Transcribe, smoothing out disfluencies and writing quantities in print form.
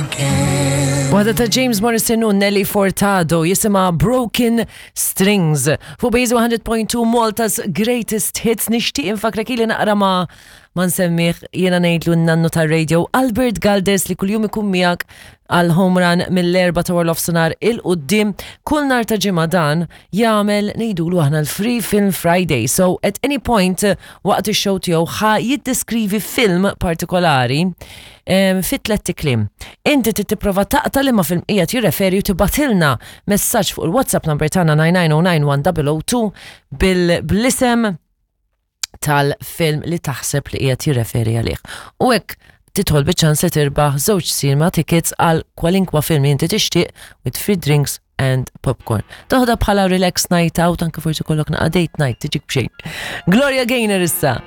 Again. Waħda ta' James Morrison u Nelly Furtado jisimha Broken Strings. Fuq Base 100.2 Malta's Greatest Hits nixtieq infakrek ili naqra ma ma nsemmih jiena ngħidlu n-nannu tar-radio Albert Galdes li kuljum ikun miegħek għal home run mill-erba ta' Warlof Sonar il-qoddim kull nar ta' ġimgħa dan jagħmel ngħidulu aħna l-Free Film Friday. So at any point waqt ix-show tiegħu ħa jiddeskrivi film partikolari fi tlett kliem. Inti trid tipprova taqta' liema film qiegħed jirreferi u tibgħatilna messaġġ fuq il-WhatsApp number tagħna 99091 bil bl-isem tal-film li taħseb li qiegħed jirreferi għalih. U hekk tidħol biċ-ċans li tirbaħ żewġ cinema tickets għal kwalinkwa film li inti tixtieq with free drinks and popcorn. Toħda bħala relax night out anke forsi kollok naqa' date night tiġik b'xejn. Gloria Gaynor issa.